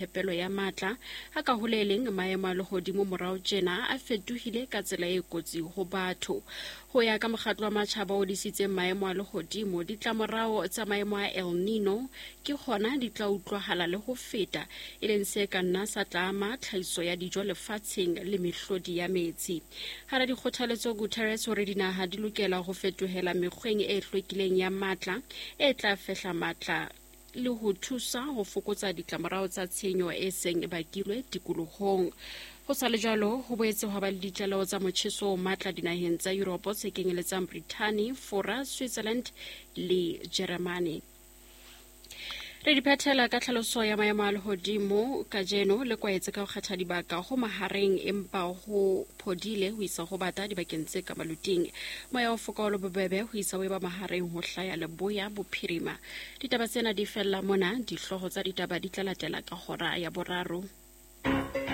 Phepelo ya matla a ka ho le leng maemo a lehodimo morao tjena a fetohile ka tsela e kotsi ho batho. Ho ya ka mokgatlo wa matjhaba o disitseng maemo a lehodimo, ditlamorao tsa maemo a El Nino ke hona di tla utlwahala le ho feta, e leng se ka nna sa tla ama tlhahiso ya dijo lefatsheng le mehlodi ya metsi. Hara dikgothaletso, Guterres o re dinaha di lokela ho fetohela mekgweng e hlwekileng ya matla e tla fehla matla le ho thusa ho fokotsa ditlamorao tsa tshenyo e seng e bakilwe tikolohong. Ho sa le jwalo, ho boetse hwa ba le ditlaleho tsa motjheso o matla dinaheng tsa Yuropo tse kenyeletsang Brithani, Fora, Switzerland le Jeremane. Re di phethela ka tlhaloso ya maemo a lehodimo kajeno le kwaetse ka ho kgetha dibaka ho mahareng empa ho phodile ho isa ho bata dibakeng tse ka maluting. Moya o foka o le bobebe ho isa ho eba mahareng ho hlaya leboya bophirima. Ditaba tsena di fella mona, dihlooho tsa ditaba di tla latela ka hora ya boraro.